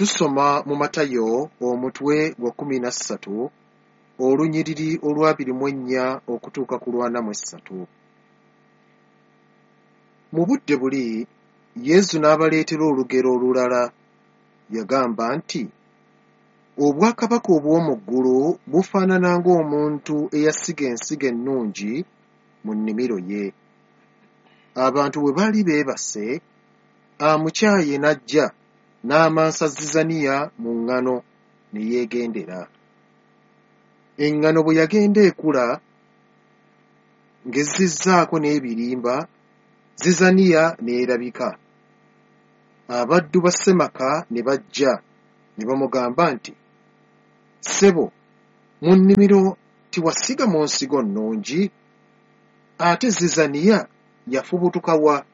Tusoma mu Matayo omutwe gwa 13 olunyiriri olw'24 okutuuka ku lw'43. Mu budde buli Yesu n'abaleetera olugero olulala. Yagamba nti, Obwakabaka obw'omu ggulu bufaanana ng'omuntu eyasiga ensigo ennungi mu nnimiro ye. Abantu bwe baali beebase, amukyaye n'ajja n'amansa zizaniya mu ŋŋano ne yeegendera. Eŋŋano bwe yagenda ekula ng'ezzizzaako n'ebirimba, zizaniya n'erabika. Abaddu ba ssemaka ne bajja ne bamugamba nti, Ssebo, mu nnimiro tiwasigamu nsigo nnungi? Ate zizaniya yafubutuka wa?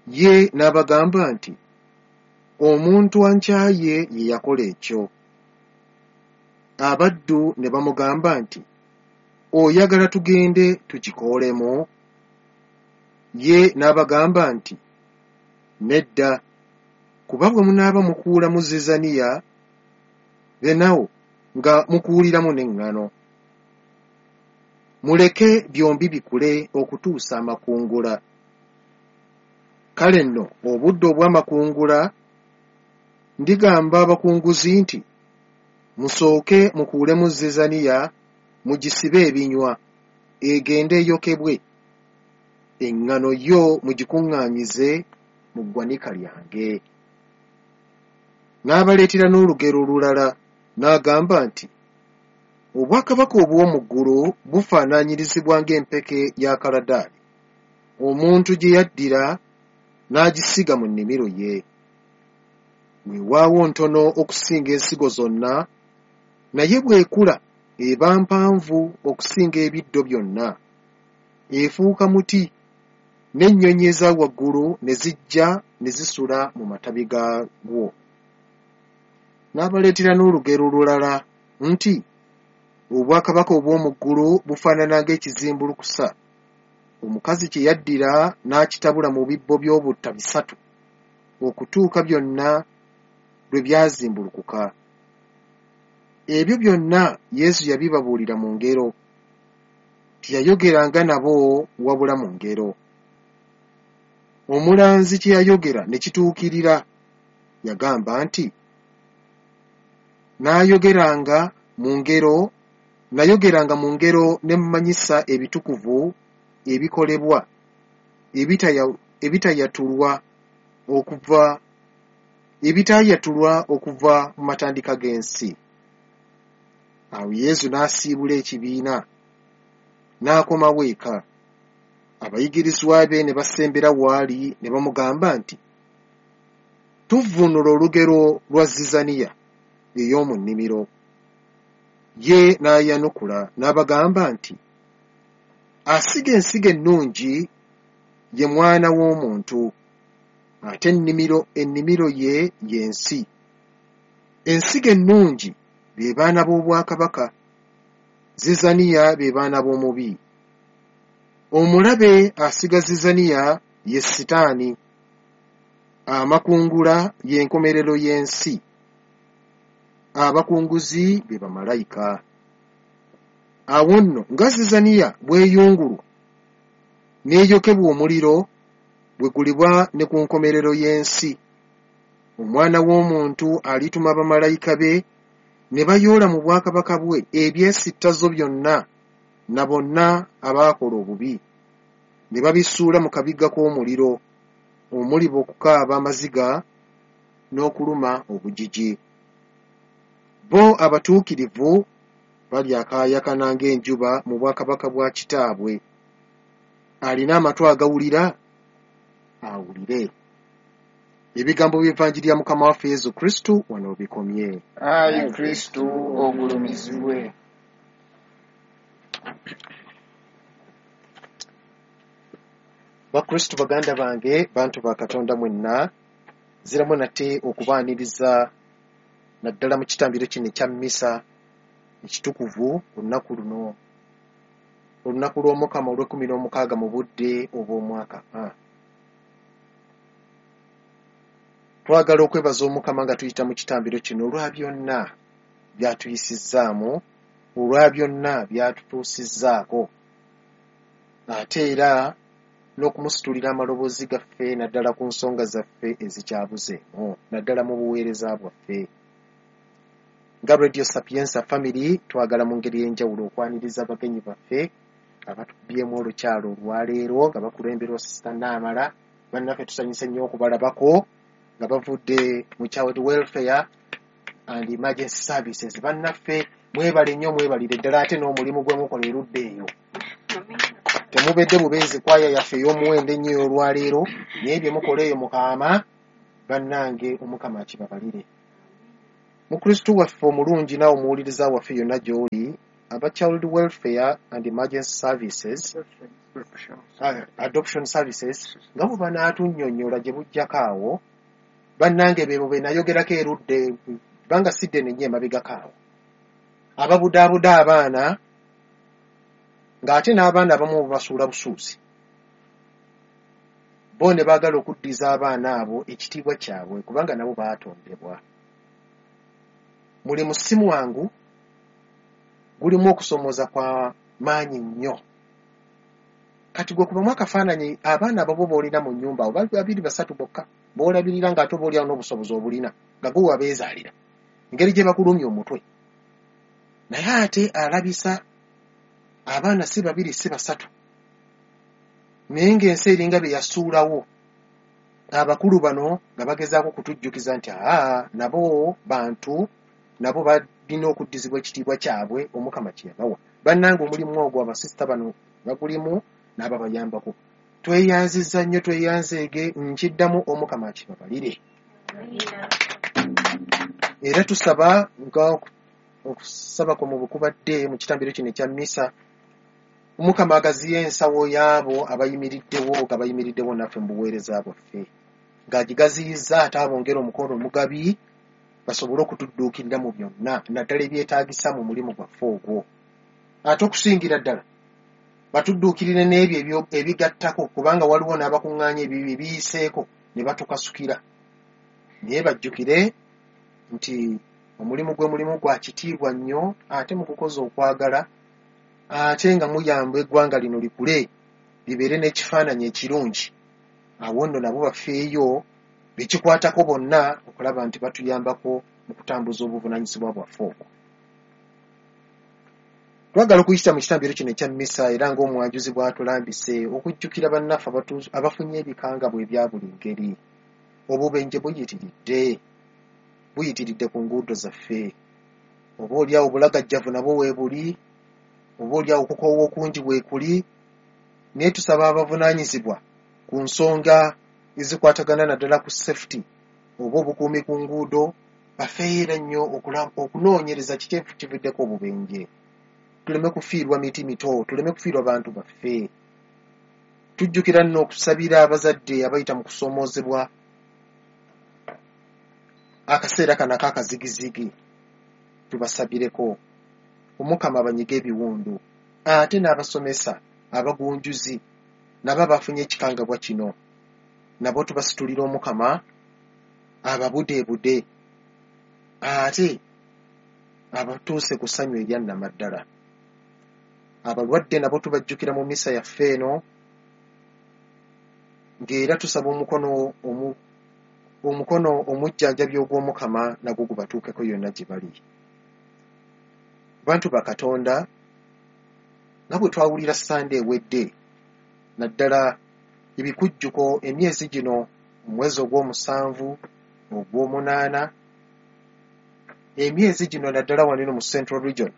Ye n'abagamba nti, Omuntu ankyaye ye yakola ekyo. Abaddu ne bamugamba nti, Oyagala tugende tugikoolemu? Ye n'abagamba nti, Nedda, kuba bwe munaaba mukuulamu zizaniya, benawo nga mukuuliramu n'eŋŋano. Muleke byombi bikule okutuusa amakungula. Kale nno obudde obw'amakungula ndigamba abakunguzi nti, Musooke mukuulemu zizaniya mugisibe ebinywa, egende eyokebwe, eŋŋano yo mugikuŋŋaanyize mu ggwanika lyange. N'abaleetera n'olugero olulala n'agamba nti, Obwakabaka obw'omu ggulu bufaanaanyirizibwa ng'empeke ya kaladaali, omuntu gye yaddira n'agisiga mu nnimiro ye. Weewaawo ntono okusinga ensigo zonna, naye bw'ekula eba mpanvu okusinga ebiddo byonna, efuuka muti, n'ennyonyi eza waggulu ne zijja ne zisula mu matabi gaagwo. N'abaleetera n'olugero olulala nti, Obwakabaka obw'omu ggulu bufaanana ng'ekizimbulukusa, omukazi kye yaddira n'akitabula mu bibbo by'obutta bisatu, okutuuka byonna lwe byazimbulukuka. Ebyo byonna Yesu yabibabuulira mu ngero, teyayogeranga nabo wabula mu ngero. Omulanzi kye yayogera ne kituukirira, yagamba nti, Naayogeranga mu ngero, nayogeranga mu ngero ne mmanyisa ebitukuvu ebikolebwa ebitayatulwa okuva ebitaayatulwa okuva mu matandika g'ensi. Awo Yesu n'asiibula ekibiina, n'akomawo eka. Abayigirizwa be ne basembera w'ali ne bamugamba nti, Tuvvuunule olugero lwa zizaniya ey'omu nnimiro. Ye n'ayanukula n'abagamba nti, Asiga ensigo ennungi ye Mwana w'Omuntu, ate ennimiro ennimiro ye ye nsi. Ensigo ennungi be baana b'obwakabaka, zizaniya be baana b'omubi. Omulabe asiga zizaniya ye Sitaani. Amakungula ye nkomerero y'ensi, abakunguzi be bamalayika. Awo nno nga zizaniya bw'eyungulwa n'eyokebwa omuliro, bwe guliba ne ku nkomerero y'ensi. Omwana w'Omuntu alituma bamalayika be ne bayoola mu bwakabaka bwe ebyesittazo byonna na bonna abaakola obubi, ne babisuula mu kabiga k'omuliro, omuliba okukaaba amaziga n'okuluma obujiji. Bo abatuukirivu balyakaayakana ng'enjuba mu bwakabaka bwa Kitaabwe. Alina amatu agawulira, awulire. Ebigambo by'Evanjiri ya Mukama waffe Yesu Kristu wano bikomye. Ayi Kristu ogulumizibwe. Bakristu baganda bange, bantu ba Katonda mwenna, nziramu nate okubaaniriza naddala mu kitambiro kino ekya mmisa ekitukuvu ku lunaku luno, olunaku lw'Omukama olw'ekkumi n'omukaaga mu budde obw'omwaka A. Twagala okwebaza Omukama nga tuyita mu kitambiro kino olwa byonna by'atuyisizzaamu, olwa byonna by'atutuusizzaako, ate era n'okumusitulira amaloboozi gaffe naddala ku nsonga zaffe ezikyabuzeemu, naddala mu buweereza bwaffe. Nga Radio Sapienza Family twagala mu ngeri ey'enjawulo okwaniriza abagenyi baffe abatukubyemu olukyalo olwaleero nga bakulemberwa Sisita Naamala. Bannaffe tusanyuse nnyo okubalabako nga bavudde mu Child Welfare and Emergency Services. Bannaffe mwebale nnyo, mwebalire ddala ate n'omulimu gwe mukola erudda eyo. Temubedde bubeezi kwaya yaffe ey'omuwendo ennyo ey'olwaleero, naye bye mukola eyo mukaama, bannange Omukama akibabalire. Mukristu waffe omulungi naawe omuwuliriza waffe yonna gy'oli, aba Child Welfare and Emergency Services, Adoption Services, nga bwe banaatunnyonnyola gye bujjako awo, bannange beebo be nayogerako erudde, kubanga si ddene nnyo emabegako awo, ababudaabuda abaana ng'ate n'abaana abamu bubasuula busuuzi, bo ne baagala okuddiza abaana abo ekitiibwa kyabwe kubanga nabo baatondebwa. Mulimu si mwangu, gulimu okusoomooza kwa maanyi nnyo. Kati gwe kubamu akafaananyi abaana ababo b'olina mu nnyumba abo bali babiri basatu bokka b'olabirira ng'ate oba oliawo n'obusobozi obulina nga gwe wabeezaalira, engeri gye bakulumya omutwe. Naye ate alabisa abaana si babiri si basatu, naye ng'ensi eringa bye yasuulawo. Abakulu bano nga bagezaako okutujjukiza nti aa nabo bantu, nabo balina okuddizibwa ekitiibwa kyabwe Omukama kye yabawa. Bannange omulimu ogwo abasisita bano bagulimu n'ababayambako. Tweyanzizza nnyo, tweyanzeege, nkiddamu Omukama akibabalire. Era tusaba nga okusaba kwa mu bukubadde mu kitambiro kino ekya mmisa, Omukama agaziye ensawo y'abo abayimiriddewo nga bayimiriddewo naffe mu buweereza bwaffe, ng'agigaziyizza ate abongere omukono omugabi basobole okutudduukirira mu byonna, naddala ebyetaagisa mu mulimu gwaffe ogwo. Ate okusingira ddala batudduukirire n'ebyo ebigattako, kubanga waliwo n'abakuŋŋaanya ebibi ebiyiseeko ne batukasukira. Naye bajjukire nti omulimu gwe mulimu gwa kitiibwa nnyo, ate mu kukoza okwagala, ate nga muyamba eggwanga lino likule libeere n'ekifaananyi ekirungi. Awo nno nabo bafeeyo bekikwatako bonna okulaba nti batuyambako mu kutambuza obuvunaanyizibwa bwaffe obwo. Twagala okuyita mu kitambiro kino ekya mmisa era ng'omwanjuzi bw'atulambise okujjukira bannaffe abafunye ebikangabwa ebya buli ngeri. Obubenje buyitiridde ku nguudo zaffe. Oba oliawo obulagajjavu nabwo weebuli, oba oliawo okukoowa okungi weekuli, naye tusaba abavunaanyizibwa ku nsonga ezikwatagana naddala ku safety oba obukuumi ku nguudo bafeera nnyo okunoonyereza kiki kivuddeko obubenje. Tuleme kufiirwa miti mito, tuleme kufiirwa bantu baffe. Tujjukira nno okusabira abazadde abayita mu kusoomoozebwa akaseera kano ak'akazigizigi, tubasabireko Omukama abanyige ebiwundu, ate n'abasomesa abagunjuzi nabo abafunye ekikangabwa kino nabo tubasitulira Omukama ababudeebude ate abatuuse ku ssanyu erya nnamaddala. Abalwadde nabo tubajjukira mu misa yaffe eno, ng'era tusaba omukono omujjanjabi ogw'Omukama nagwo gubatuukeko yonna gye bali. Bantu ba Katonda, nga bwe twawulira Ssande ewedde, naddala ebikujjuko emyezi gino, omwezi ogw'omusanvu, ogw'omunaana, emyezi gino naddala wano eno mu Central Region,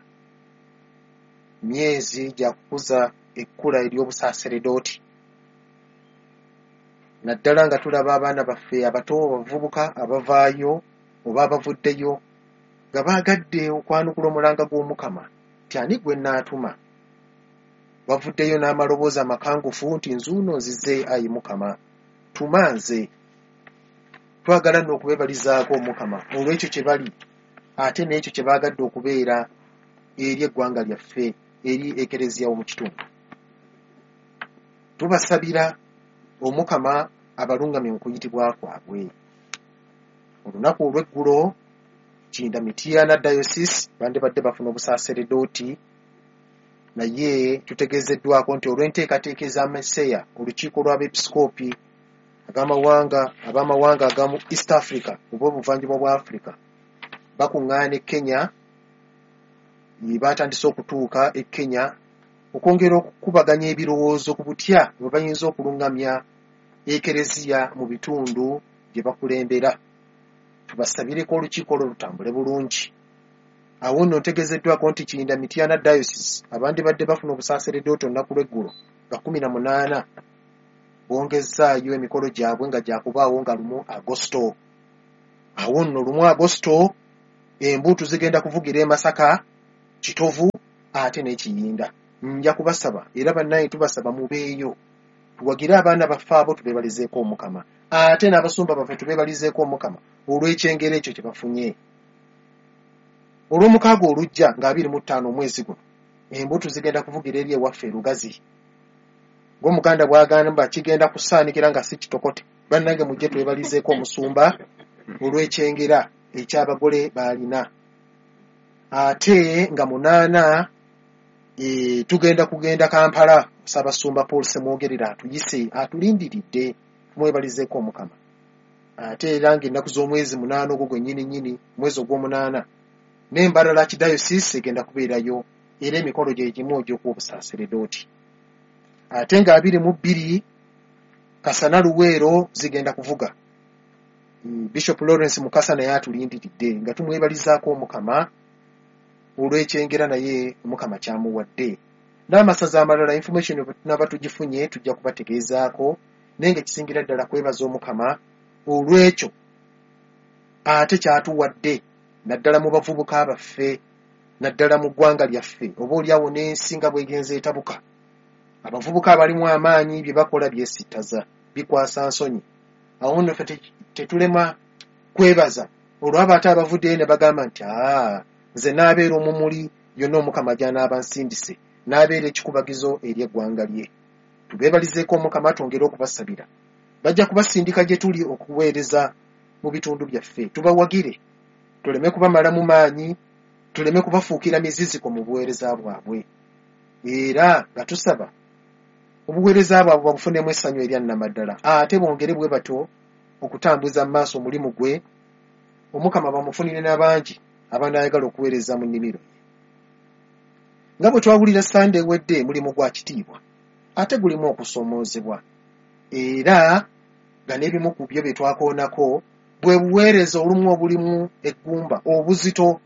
myezi gya kukuza ekkula ery'obusaaseredooti, naddala nga tulaba abaana baffe abato, abavubuka abavaayo oba abavuddeyo nga baagadde okwanukula omulanga gw'Omukama nti ani gwe nnaatuma. Bavuddeyo n'amaloboozi amakangufu nti nzuuno nzize ayi Mukama, tuma nze. Twagala nno okubeebalizaako Omukama olw'ekyo kye bali ate n'ekyo kye baagadde okubeera eri eggwanga lyaffe, eri Ekereziya w'omu kitundu. Tubasabira Omukama abalungamye mu kuyitibwa kwabwe. Olunaku olw'eggulo Kinda Mityana Diocese bandibadde bafuna obusaaseredooti, naye tutegeezeddwako nti olw'enteekateeka eza Meseya, olukiiko lw'abeepisikoopi ab'amawanga agamu East Africa oba obuvanjuba bwa Africa bakuŋŋaana e Kenya. Batandise okutuuka e Kenya okwongera okukubaganya ebirowoozo ku butya bwe bayinza okuluŋŋamya Ekereziya mu bitundu gye bakulembera. Tubasabireko olukiiko olwo lutambule bulungi. Awo nno ntegeezeddwako nti Kiyinda Mityana Diocese abandibadde bafuna obusaaseredooti olunaku lw'eggulo nga 18 bongezzaayo emikolo gyabwe nga gyakubaawo nga 1 Agosto. Awo nno 1 Agosto embuutu zigenda kuvugira e Masaka, Kitovu ate n'Ekiyinda. Nja kubasaba era bannaye tubasaba mubeeyo tuwagire abaana baffe abo, tubeebalizeeko Omukama, ate n'abasumba baffe tubeebalizeeko Omukama olw'ekyengera ekyo kye bafunye. Olw'omukaaga olujja nga 25 omwezi guno embuutu zigenda kuvugira eri ewaffe e Lugazi. Ng'Omuganda bw'agamba kigenda kusaanikira nga si kitokote. Bannange mujje twebalizeeko omusumba olw'ekyengera eky'abagole b'alina. Ate nga 8 tugenda kugenda Kampala, Ssaabasumba Paul Ssemwogerere atuyise atulindiridde, tumwebalizeeko Omukama. Ate era ng'ennaku z'omwezi 8 ogwo gwennyini nnyini, mwezi ogw'omunaana, n'Embarara Archdiocese egenda kubeerayo era emikolo gye gimu egy'okuwa obusaaseredooti. Ate nga 22 Kasana Luweero zigenda kuvuga. Bishop Lawrence Mukasa naye atulindiridde nga tumwebalizaako Omukama olw'ekyengera naye Omukama kyamuwadde. N'amasaza amalala information bwe tunaaba tugifunye tujja kubategeezaako, naye ng'ekisingira ddala kwebaza Omukama olw'ekyo ate kyatuwadde naddala mu bavubuka baffe, naddala mu ggwanga lyaffe, oba oliawo n'ensi nga bw'egenze etabuka. Abavubuka abalimu amaanyi bye bakola byesittaza, bikwasa nsonyi. Awo nno ffe tetulema kwebaza olw'abo ate abavuddeyo ne bagamba nti nze n'abeera omumuli yonna Omukama gy'anaaba nsindise, n'abeera ekikubagizo eri eggwanga lye. Tubeebalizeeko Omukama, twongere okubasabira. Bajja kubasindika gye tuli okuweereza mu bitundu byaffe, tubawagire, tuleme kubamalamu maanyi, tuleme kubafuukira miziziko mu buweereza bwabwe. Era nga tusaba obuweereza bwabwe babufunemu essanyu erya nnamaddala, ate bongere bwe batyo okutambuza mu maaso omulimu gwe, Omukama bamufunire n'abangi abanaayagala okuweereza mu nnimiro ye. Nga bwe twawulira Sande ewedde, mulimu gwa kitiibwa ate gulimu okusoomoozebwa, era nga n'ebimu ku byo bye twakoonako bwe buweereza olumu obulimu eggumba obuzito,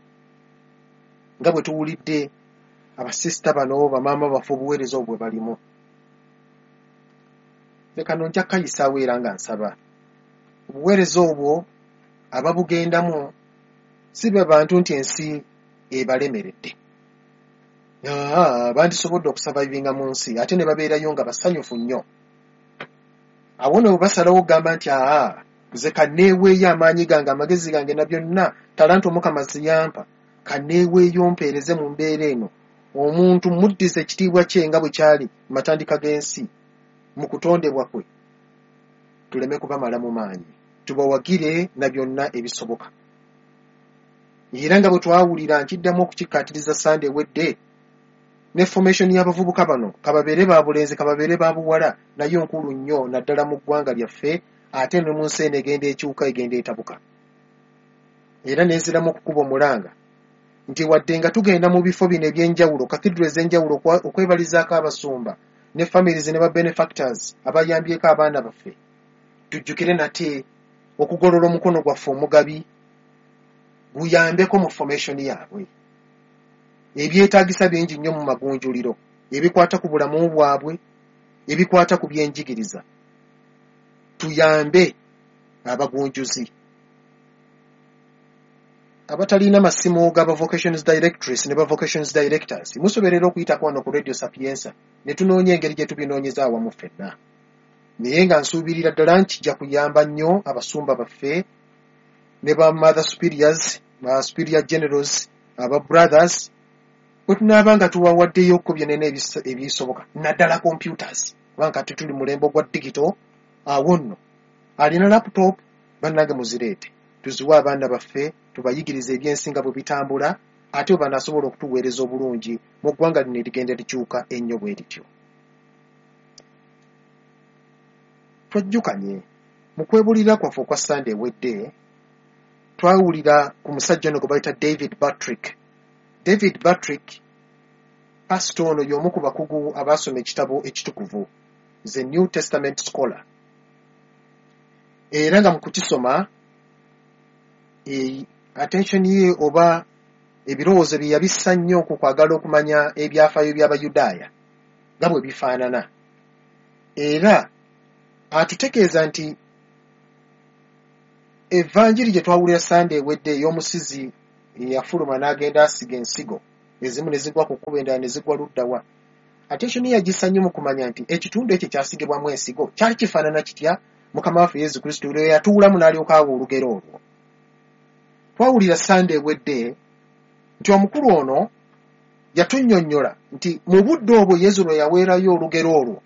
nga bwe tuwulidde abasisita bano bamaama baffe obuweereza obwo bwe balimu. Leka nno nja kukayisaawo era nga nsaba obuweereza obwo ababugendamu si be bantu nti ensi ebalemeredde. Bandisobodde okusavaivinga mu nsi ate ne babeerayo nga basanyufu nnyo. Awo nno bwe basalawo okugamba nti nze kanneeweeyo amaanyi gange, amagezi gange na byonna talanta Omukama ziyampa, kanneeweeyo mpeereze mu mbeera eno, omuntu muddize ekitiibwa kye nga bwe kyali mu matandika g'ensi mu kutondebwa kwe, tuleme kubamalamu maanyi, tubawagire na byonna ebisoboka. Era nga bwe twawulira nkiddamu okukikkaatiriza Sande ewedde, ne formation y'abavubuka bano, kababeere ba bulenzi kababeere ba buwala, nayo nkulu nnyo naddala mu ggwanga lyaffe ate ne mu nsi eno egenda ekyuka, egenda etabuka. Era nenziramu okukuba omulanga nti wadde nga tugenda mu bifo bino eby'enjawulo, cathedral ez'enjawulo okwebalizaako abasumba ne families ne ba benefactors abayambyeko abaana baffe, tujjukire nate okugolola omukono gwaffe omugabi guyambeko mu formation yaabwe. Ebyetaagisa bingi nnyo mu magunjuliro, ebikwata ku bulamu bwabwe, ebikwata ku byenjigiriza. Tuyambe abagunjuzi abatalina masimu g'aba vocations directress ne ba vocations directors, musoberera okuyitako wano ku Radio Sapienza ne tunoonya engeri gye tubinoonyeza awamu ffenna. Naye nga nsuubirira ddala nti kijja kuyamba nnyo abasumba baffe ne ba mother superiors, ba superior generals, aba brothers, bwe tunaaba nga tubawaddeyo ko byonna ebisoboka, naddala computers, kubanga kati tuli mulembe ogwa digital. Awo nno alina laptop, bannange muzireete. tuziwe abaana baffe, tubayigirize ebyensi nga bwe bitambula, ate bwe banaasobola okutuweereza obulungi mu ggwanga lino erigenda likyuka ennyo bwe lityo. Twejjukanye mu kwebulira kwaffe okwa Ssande ewedde, twawulira ku musajja ono gwe bayita David Patrick. David Patrick, pasita ono y'omu ku bakugu abaasoma ekitabo ekitukuvu, the New Testament scholar. Era nga mu kukisoma, attention ye oba ebirowoozo bye yabissa nnyo ku kwagala okumanya ebyafaayo by'Abayudaaya nga bwe bifaanana. Era atutegeeza nti evanjiri gye twawulira Ssande ewedde ey'omusizi eyafuluma n'agenda asiga ensigo, ezimu ne zigwa ku kkubo, endala ne zigwa ludda wa. Attention ye yagissa nnyo mu kumanya nti ekitundu ekyo kyasigibwamu ensigo kyali kifaanana kitya Mukama waffe Yesu Kristo lwe yatuulamu n'alyoka awa olugero olwo. Twawulira Ssande ewedde nti omukulu ono yatunnyonnyola nti mu budde obwo Yesu lwe yaweerayo olugero olwo,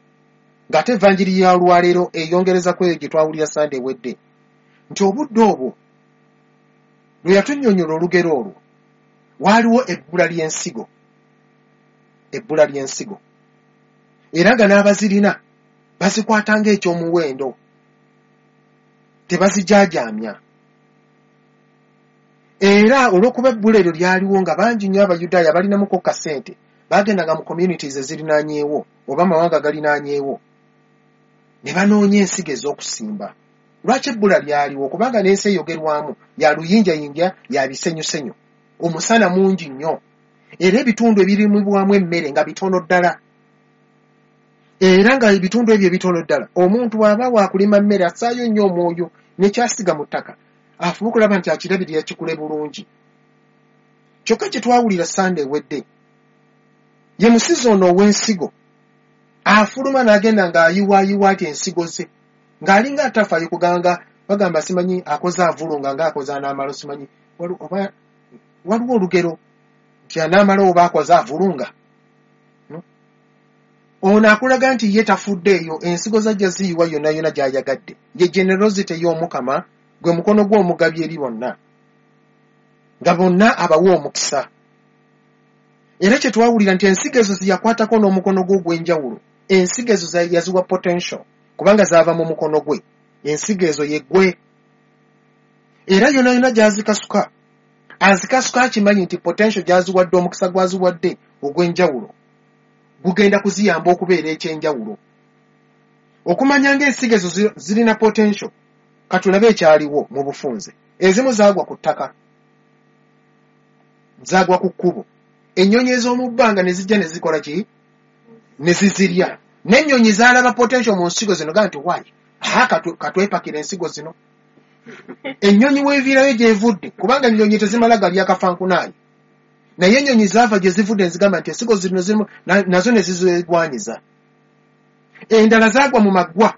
ng'ate evanjiri ya lwaleero eyongereza ku eyo gye twawulira Ssande ewedde, nti obudde obwo lwe yatunnyonnyola olugero olwo waaliwo ebbula ly'ensigo, ebbula ly'ensigo, era nga n'abazirina bazikwata ng'ekyomuwendo, tebazijaajaamya. Era olw'okuba ebbula eryo lyaliwo nga bangi nnyo Abayudaaya balinamuko kasente, baagendanga mu communities ezirinaanyeewo oba amawanga agalinaanyeewo ne banoonya ensigo ez'okusimba. Lwaki ebbula lyaliwo? Kubanga n'ensi eyogerwamu ya luyinjayinja, ya bisenyusenyu, omusana mungi nnyo, era ebitundu ebirimibwamu emmere nga bitono ddala. Era nga ebitundu ebyo ebitono ddala, omuntu bw'aba waakulima mmere assaayo nnyo omwoyo n'ekyasiga mu ttaka, afuba okulaba nti akirabirira kikule bulungi. Kyokka kye twawulira Ssande ewedde, ye musizi ono ow'ensigo afuluma n'agenda ng'ayiwaayiwa ati ensigo ze, ng'alinga atafaayo kuganga bagamba simanyi akoze avulunga ng'akoze anaamala, simanyi waliwo olugero nti anaamala oba akoze avulunga. Ono akulaga nti ye tafuddeeyo, ensigo zajja ziyiwa yonna yonna gy'ayagadde. Ye generosity y'Omukama, gwe mukono gw'omugabi eri bonna, nga bonna abawa omukisa. Era kye twawulira nti ensigo ezo ziyakwatako n'omukono gwe ogw'enjawulo, ensigo ezo yaziwa potential kubanga zaava mu mukono gwe, ensigo ezo ye ggwe. Era yonna yonna gy'azikasuka, azikasuka akimanyi nti potential gy'aziwadde, omukisa gw'aziwadde ogw'enjawulo gugenda kuziyamba okubeera ekyenjawulo. Okumanya ng'ensigo ezo zirina potential, katulabe ekyaliwo mu bufunze. Ezimu zaagwa ku ttaka, zaagwa ku kkubo, ennyonyi ez'omu bbanga ne zijja ne zikola ki? Ne zizirya. N'ennyonyi zaalaba potential mu nsigo zino, gaa nti waayi, katwepakira ensigo zino. Ennyonyi weeviirayo gy'evudde, kubanga ennyonyi tezimala galya kafankunaayi, naye ennyonyi zaava gye zivudde ne zigamba nti ensigo zino zirimu, nazo ne zizegwanyiza. Endala zaagwa mu maggwa.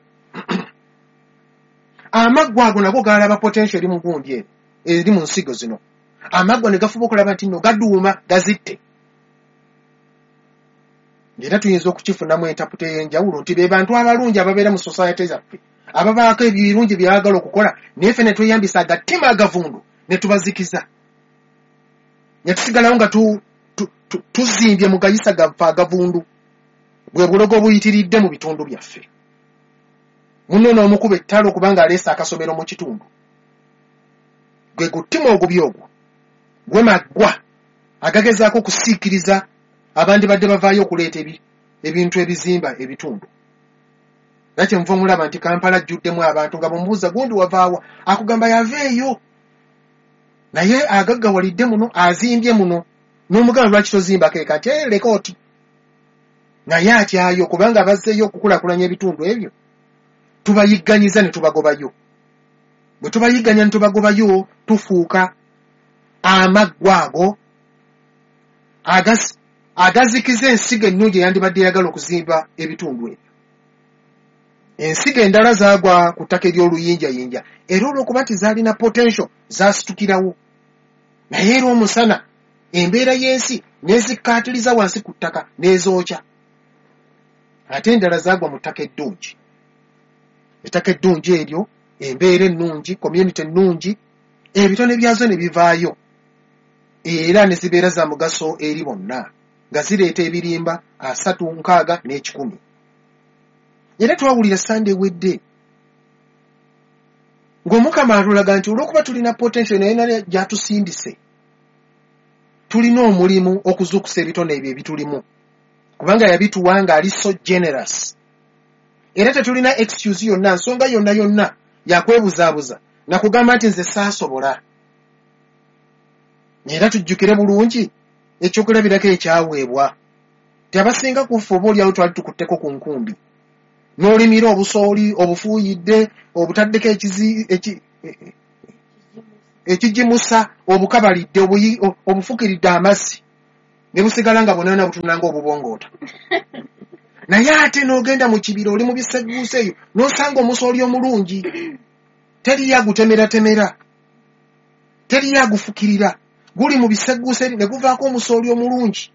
Amaggwa ago nago gaalaba potential eri mu gundi eno, eri mu nsigo zino. Amaggwa ne gafuba okulaba nti nno gaduuma gazitte. Era tuyinza okukifunamu entaputa ey'enjawulo nti be bantu abalungi ababeera mu society zaffe, ababaako ebirungi bye baagala okukola, naye ffe ne tweyambisa agatima agavundu ne tubazikiza, ne tusigalawo nga tuzimbye mu gayisa gaffe agavundu. Bwe bulogo obuyitiridde mu bitundu byaffe. Munno n'omukuba ettalo kubanga aleese akasomero mu kitundu. Gwe guttima ogubi ogwo, gwe maggwa agagezaako okusiikiriza abandibadde bavaayo okuleeta ebintu ebizimba ebitundu. Era kyenva omulaba nti Kampala ajjuddemu abantu nga bw'omubuuza gundi wavaawa, akugamba yaveeyo. Naye agaggawalidde muno, azimbye muno, n'omugamba lwaki tozimbako eka nti leka oti. Naye atyayo kubanga bazzeeyo okukulaakulanya ebitundu ebyo, tubayigganyiza ne tubagobayo. Bwe tubayigganya ne tubagobayo, tufuuka amaggwa ago agazikiza ensigo ennungi eyandibadde eyagala okuzimba ebitundu ebyo. Ensigo endala zaagwa ku ttaka ery'oluyinjayinja, era olw'okuba nti zaalina potential zaasitukirawo. Naye era omusana, embeera y'ensi n'ezikkaatiriza wansi ku ttaka n'ezookya. Ate endala zaagwa mu ttaka eddungi. Ettaka eddungi eryo, embeera ennungi, community ennungi, Ebitone byazo ne bivaayo era ne zibeera za mugaso eri bonna, nga zireeta ebirimba 30, 60 ne 100. Era twawulira Sande ewedde ng'Omukama atulaga nti olw'okuba tulina potential naye naye gy'atusindise, tulina omulimu okuzuukusa ebitone ebyo ebitulimu, kubanga yabituwa ng'ali so generous. Era tetulina excuse yonna, nsonga yonna yonna yakwebuzaabuza nakugamba nti nze saasobola. Era tujjukire bulungi ekyokulabirako ekyaweebwa nti abasinga ku ffe oba oliawo twali tukutteko ku nkumbi, n'olimira obusooli, obufuuyidde, obutaddeko ekigimusa, obukabalidde, obufukiridde amazzi ne busigala nga bunaana butunula ng'obubongoota. Naye ate n'ogenda mu kibira, oli mu bisegguusa eyo, n'osanga omusooli omulungi, teriyo agutemeratemera, teriyo agufukirira, guli mu bisegguusa eri ne guvaako omusooli omulungi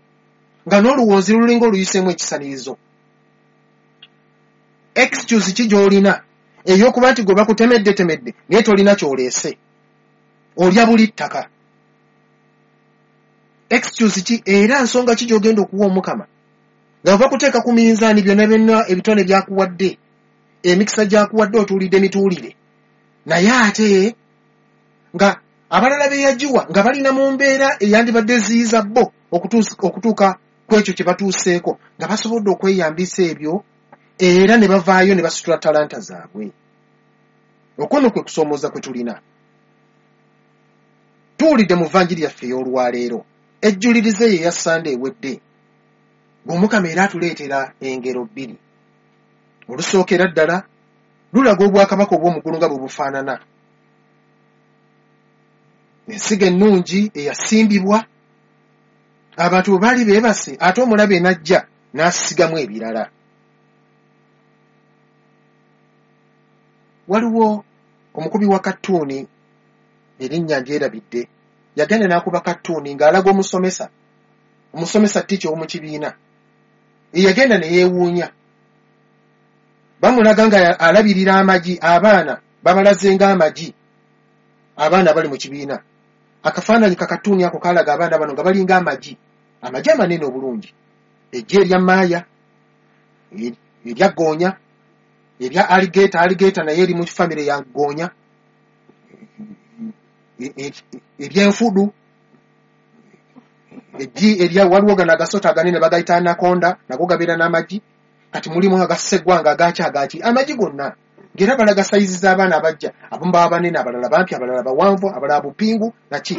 nga n'oluwonzi lulinga oluyiseemu ekisanirizo. Excuse ki gy'olina ey'okuba nti gwe bakutemeddetemedde naye tolina ky'oleese, olya buli ttaka? Excuse ki era nsonga ki gy'ogenda okuwa Omukama nga bakuteeka ku minzaani byonna byonna ebitone byakuwadde, emikisa gyakuwadde, otuulidde mituulire, naye ate nga abalala be yagiwa nga balina mu mbeera eyandibadde eziyiza bo okutuuka ku ekyo kye batuuseeko, nga basobodde okweyambisa ebyo era ne bavaayo ne basitula talanta zaabwe? Okwo nno kwe kusoomooza kwe tulina. Tuwulidde mu vanjiri yaffe ey'olwaleero ejjulirize ye eya Sande ewedde, ng'Omukama era atuleetera engero bbiri. Olusookera ddala lulaga obwakabaka obw'omuggulu nga bwe bufaanana, ensigo ennungi eyasimbibwa, abantu bwe baali beebase, ate omulabe n'ajja n'asigamu ebirala. Waliwo omukubi wa kattuuni, erinnya ndyerabidde, yagenda n'akuba kattuuni ng'alaga omusomesa, omusomesa teacher ow'omu kibiina, eyagenda ne yeewuunya. Bamulaga nga alabirira amagi, abaana babalaze ng'amagi, abaana abali mu kibiina. Akafaananyi kakattuuni ako kalaga abaana bano nga balinga amagi, amagi amanene obulungi, eggi erya maaya, erya ggoonya, erya alligator, alligator naye eri mu famire ya ggoonya, eryenfudu, eggi erya, waliwo gano agasota aganene bagayita anaconda, nago gabeera n'amagi. Kati mulimu agaseggwanga, agaki agaki, amagi gonna ng'era balaga sayizi z'abaana abajja, abamu baba banene, abalala bampi, abalala bawanvu, abalala bupingu naki.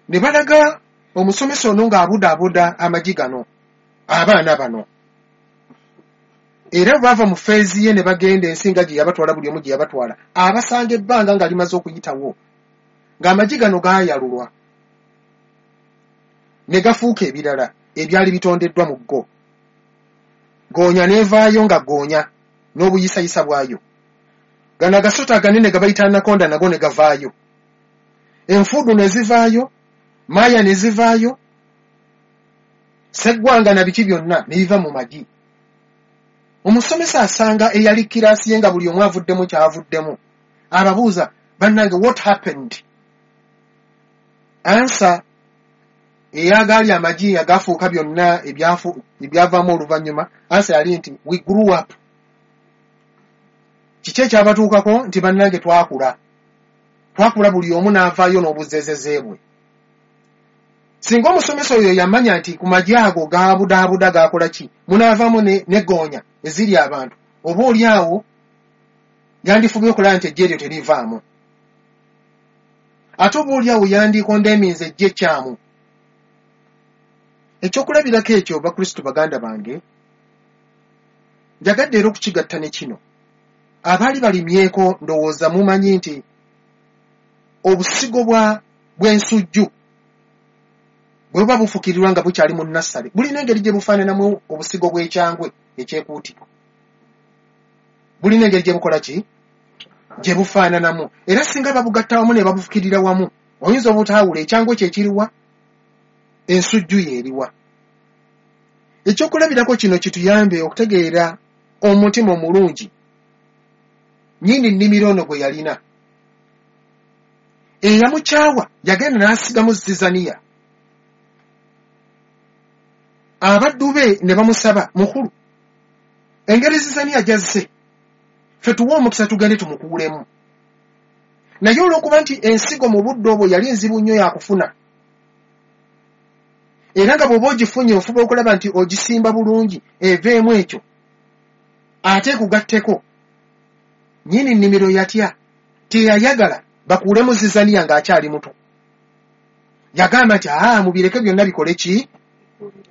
Ne balaga omusomesa ono ng'abudaabuda amagi gano, abaana bano. Era bwe bava mu phase ye ne bagenda ensi nga gye yabatwala, buli omu gye yabatwala, abasanga ebbanga nga limaze okuyitawo, ng'amagi gano gaayalulwa ne gafuuka ebirala ebyali bitondeddwa mu go. Goonya n'evaayo nga goonya n'obuyisayisa bwayo, gano agasota aganene gabayita anaconda nago ne gavaayo, enfuudu ne zivaayo, maaya ne zivaayo, seggwanga na biki byonna ne biva mu magi. Omusomesa asanga eyali kiraasi ye nga buli omu avuddemu kyavuddemu, ababuuza, "Bannange, what happened?" Answer eyagaali amagi agafuuka byonna ebyavaamu oluvannyuma, answer yali nti, "We grew up." Kiki ekyabatuukako? Nti, "Bannange, twakula, twakula, buli omu n'avaayo n'obuzeezeze bwe." Singa omusomesa oyo yamanya nti ku magi ago gabudaabuda gakola ki, munaavaamu ne goonya eziri abantu, oba oli awo yandifubye okulaba nti ejja eryo terivaamu, ate oba oli awo yandikondeeminze ejja ekyamu. Ekyokulabirako ekyo, Bakristu baganda bange, njagadde era okukigatta ne kino. Abaali balimyeko ndowooza mumanyi nti obusigo bw'ensujju bwe buba bufukirirwa nga bukyali mu nassale, bulina engeri gye bufaananamu obusigo bw'ekyangwe ekyekuutiro, bulina engeri gye bukola ki, gye bufaananamu. Era singa babugatta wamu ne babufukirira wamu, oyinza obutaawula ekyangwe kyekiriwa, ensujju yeeriwa. Ekyokulabirako kino kituyambe okutegeera omutima omulungi nnyini nnimiro ono gwe yalina. Eyamukyawa yagenda n'asigamu zizaniya. Abaddu be ne bamusaba, mukulu, engeri zizaniya gy'azze, ffe tuwe omukisa tugende tumukuulemu. Naye olw'okuba nti ensigo mu budde obwo yali nzibu nnyo yakufuna, era nga bw'oba ogifunye ofuba okulaba nti ogisimba bulungi eveemu ekyo, ate ekugatteko. Nnyini nnimiro yatya, teyayagala bakuulemu zizaniya ng'akyali muto. Yagamba nti aa, mubireke byonna bikole ki?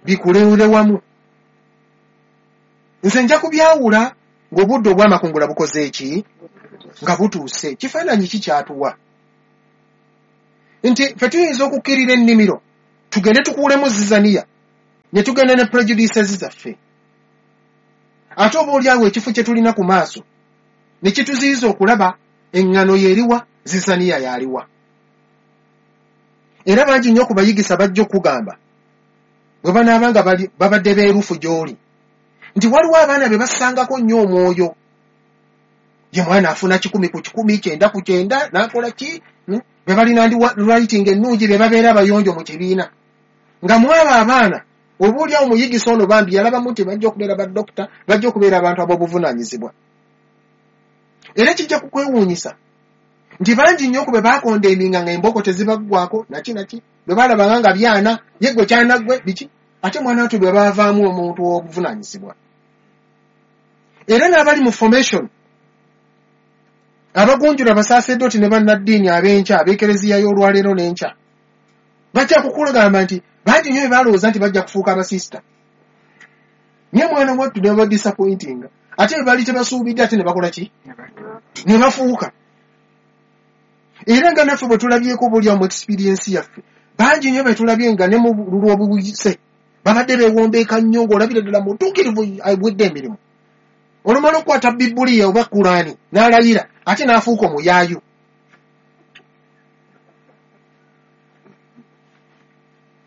Bikulewule wamu. Nze nja kubyawula ng'obudde obw'amakungula bukoze ki? Nga butuuse. Kifaananyi ki kyatuwa? Nti ffe tuyinza okukkirira ennimiro tugende tukuulemu zizaniya ne tugenda ne prejudices zaffe. Ate oba oli awo ekifo kye tulina ku maaso ne kituziyiza okulaba eŋŋano y'eriwa, zizaniya y'aliwa. Era bangi nnyo ku bayigisa bajja okugamba bwe banaaba nga babadde beerufu gy'oli nti waliwo abaana be bassangako nnyo omwoyo. Ye mwana afuna 100 ku 100, 90 ku 90, n'akola ki? Be balina writing ennungi, be babeera abayonjo mu kibiina. Nga mwabo abaana oba oli awo omuyigisa ono bambi yalabamu nti bajja okubeera badokita, bajja okubeera abantu ab'obuvunaanyizibwa. Era kijja kukwewuunyisa nti bangi nnyo ku be baakondeeminga nga emboko tezibaggwako naki naki, bwe baalabanga nga byana, ye gwe kyana gwe biki, ate mwana wattu bwe baavaamu omuntu ow'obuvunaanyizibwa. Era n'abali mu formation abagunjula abasaasedooti ne bannaddiini ab'enkya ab'ekereziya y'olwaleero n'enkya bajja kukugamba nti bangi nnyo be balowooza nti bajja kufuuka abasisita, naye mwana wattu ne babadisappointinga, ate bwe baali tebasuubidde ate ne bakola ki? Ne bafuuka. Era nga naffe bwe tulabyeko buli mu experience yaffe, bangi nnyo be tulabye nga ne mu lw'obuyise babadde beewombeeka nnyo ng'olabira ddala mutuukirivu agwedde emirimu. Olumala okukwata Bibuliya oba Kulaani n'alayira ate n'afuuka omuyaayu.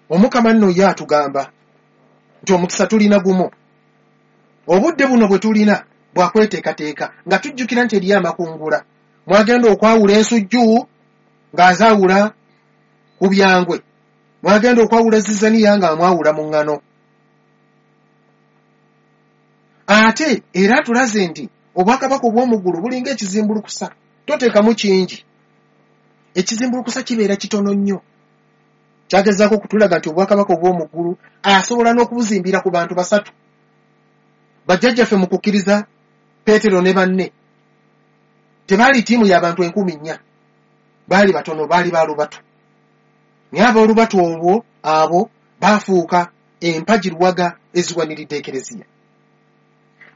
Omukama nno ye atugamba nti omukisa tulina gumu. Obudde buno bwe tulina bwakweteekateeka nga tujjukira nti eriyo amakungula. Mwagenda okwawula ensujju ng'azaawula ku byangwe, mwagenda okwawula zizaniya ng'amwawula mu ŋŋano. Ate era atulaze nti obwakabaka obw'omu ggulu bulinga ekizimbulukusa, toteekamu kingi. Ekizimbulukusa kibeera kitono nnyo. Kyagezaako okutulaga nti obwakabaka obw'omu ggulu asobola n'okubuzimbira ku bantu basatu. Bajjajjaffe mu kukkiriza Peetero ne banne tebaali ttiimu y'abantu 4,000, baali batono, baali ba lubatu. Naye ab'olubatu olwo abo baafuuka empagi luwaga eziwaniridde ekereziya.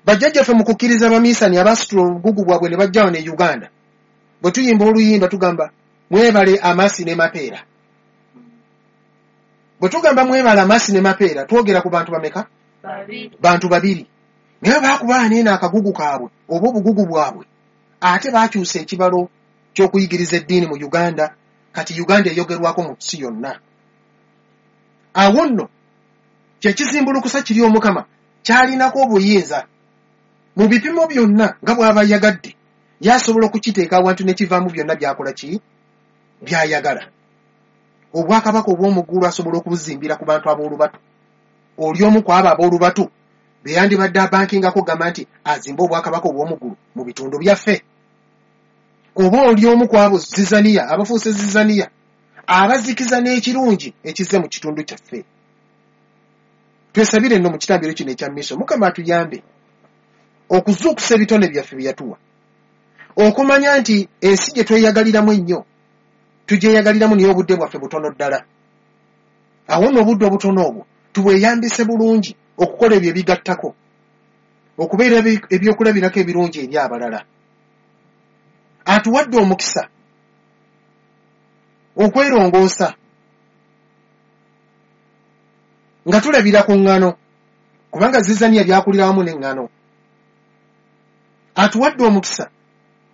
Bajjajjaffe mu kukkiriza abamiisani abaasitula obugugu bwabwe ne bajja wano e Uganda, bwe tuyimba oluyimba tugamba mwebale amasi ne mapeera. Bwe tugamba mwebale amasi ne mapeera twogera ku bantu bameka? Bantu babiri. Naye baakuba neeno akagugu kaabwe oba obugugu bwabwe, ate baakyusa ekibalo ky'okuyigiriza eddiini mu Uganda. Kati Uganda eyogerwako mu nsi yonna. Awo nno kyekizimbulukusa kiri Omukama kyalinako obuyinza mu bipimo byonna nga bw'aba ayagadde, yasobola okukiteeka awantu ne kivaamu byonna by'akola ki? By'ayagala. Obwakabaka obw'omu ggulu asobola okubuzimbira ku bantu ab'olubatu. Oli omu ku abo ab'olubatu be yandibadde abankingako gamba nti azimbe obwakabaka obw'omu ggulu mu bitundu byaffe. Oba oli omu ku abo zizaniya, abafuuse zizaniya, abazikiza n'ekirungi ekizze mu kitundu kyaffe. Twesabire nno mu kitambiro kino ekya miso, Mukama atuyambe okuzuukusa ebitone byaffe bye yatuwa, okumanya nti ensi gye tweyagaliramu ennyo tugyeyagaliramu naye obudde bwaffe butono ddala. Awo nno obudde obutono obwo tubweyambise bulungi okukola ebyo ebigattako, okubeera ebyokulabirako ebirungi eri abalala. Atuwadde omukisa okwerongoosa nga tulabira ku ŋŋano, kubanga zizaniya byakulira wamu n'eŋŋano. Atuwadde omukisa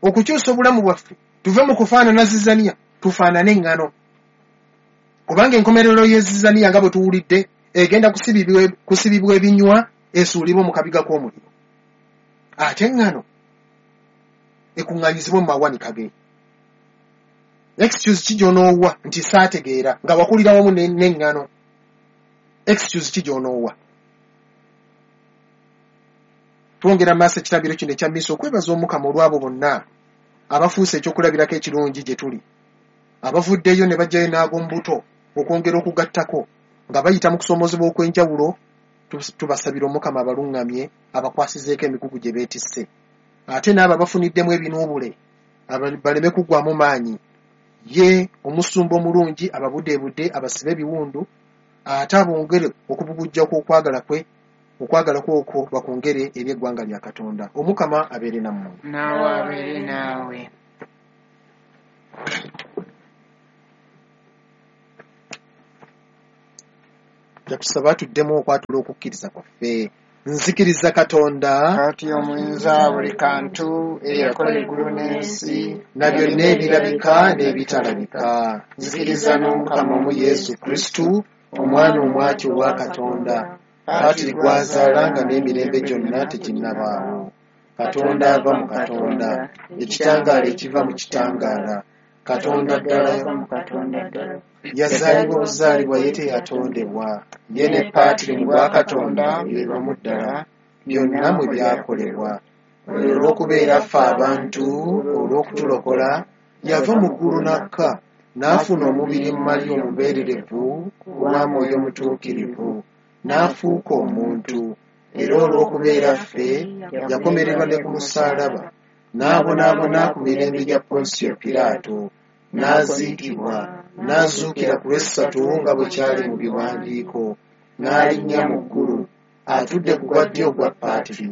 okukyusa obulamu bwaffe tuve mu kufaanana zizaniya tufaanane eŋŋano, kubanga enkomerero y'ezizaniya nga bwe tuwulidde egenda kusibibwa ebinywa esuulibwe mu kabiga k'omuliro, ate eŋŋano ekuŋŋaanyizibwe mu mawanika ge. Excuse ki gy'onoowa nti saategeera nga wakulira wamu n'eŋŋano? Excuse ki gy'onoowa? Twongera maaso ekitambiro kino ekya mmisa okwebaza Omukama olw'abo bonna abafuuse ekyokulabirako ekirungi gye tuli, abavuddeyo ne bajjayo n'ag'omubuto okwongera okugattako nga bayita mu kusoomoozebwa okw'enjawulo. Tubasabira Omukama abaluŋŋamye, abakwasizeeko emigugu gye beetisse, ate n'abo abafuniddemu ebinuubule baleme kuggwamu maanyi. Ye omusumba omulungi ababudeebudde, abasibe ebiwundu, ate abongere okubugujja kw'okwagala kwe, okwagala kwe okwo bakwongere eri eggwanga lya Katonda. Omukama abeere nammwe. Naawe abeere naawe. Tusaba tuddemu okwatula okukkiriza kwaffe. Nzikiriza Katonda Kaati omuyinza buli kantu, eyakola eggulu n'ensi, na byonna ebirabika n'ebitalabika. Nzikiriza n'Omukama omu Yesu Kristu, Omwana omwati owa Katonda, Patri gw'azaala nga n'emirembe gyonna teginnabaawo. Katonda ava mu Katonda, ekitangaala ekiva mu kitangaala, Katonda ddala ava mu Katonda ddala. Yazaalibwa buzaalibwa, ye teyatondebwa. Ye ne Patri mu bwa Katonda be bamu ddala, byonna mwe byakolebwa. Olw'okubeera ffe abantu, olw'okutulokola, yava mu ggulu n'akka, n'afuna omubiri mu Mariya omubeererevu ku lwa Mwoyo Mutuukirivu, n'afuuka omuntu. Era olw'okubeera ffe, yakomererwa ne ku musaalaba, n'abonaabona ku mirembe gya Ponsiyo Piraato, n'aziikibwa, n'azuukira ku lw'essatu nga bwe kyali mu biwandiiko, n'alinnya mu ggulu, atudde ku gwa ddyo ogwa Patri,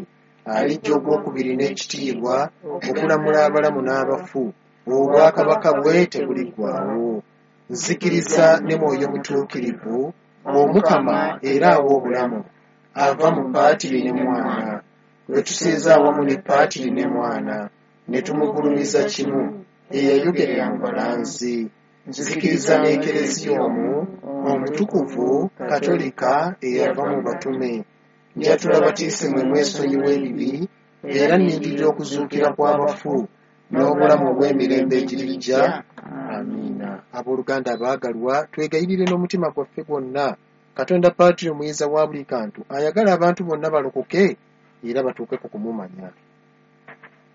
alijja ogwokubiri n'ekitiibwa okulamula abalamu n'abafu, obwakabaka bwe tebuliggwaawo. Nzikiriza ne Mwoyo Mutuukirivu, Omukama era awa obulamu, ava mu Patri ne Mwana, lwe tusinza awamu ne Patri ne Mwana, ne tumugulumiza kimu, eyayogerera mu balanzi. Nzikiriza n'Ekereziya omu, omutukuvu, Katolika, eyava mu batume. Njatula batiisimu mwesonyiwa ebibi, era nnindirira okuzuukira kw'abafu n'obulamu obw'emirembe egirijja. Amiina. Abooluganda abaagalwa, twegayirire n'omutima gwaffe gwonna Katonda Patri omuyinza wa buli kantu ayagala abantu bonna balokoke era batuuke ku kumumanya.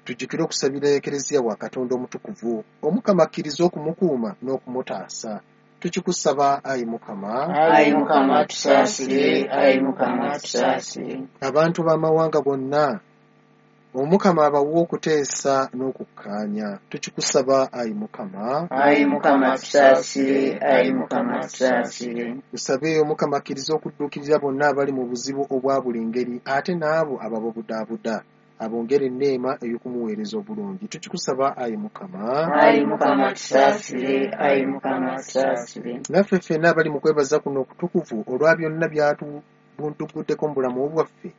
Tujjukire okusabira Ekereziya wa Katonda omutukuvu, Omukama akkirize okumukuuma n'okumutaasa. Tukikusaba ayi Mukama. Ayi Mukama tusaasire, ayi Mukama tusaasire. Abantu b'amawanga gonna Omukama abawe okuteesa n'okukkaanya. Tukikusaba ayi Mukama. Ayi Mukama tusaasire, ayi Mukama tusaasire. Tusabe Omukama akkirize okudduukirira bonna abali mu buzibu obwa buli ngeri, ate n'abo abababudaabuda, abongere enneema ey'okumuweereza obulungi. Tukikusaba ayi Mukama. Ayi Mukama tusaasire, ayi Mukama tusaasire. Naffe ffenna abali mu kwebaza kuno okutukuvu olwa byonna byatubunduguddeko mu bulamu bwaffe,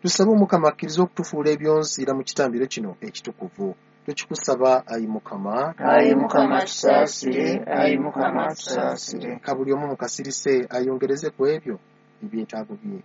tusabe Omukama akkirize okutufuula ebyonziira mu kitambiro kino ekitukuvu. Tukikusaba ayi Mukama. Ayi Mukama tusaasire, ayi Mukama tusaasire. Ka buli omu mukasirise ayongereze ku ebyo ebyetaago bye.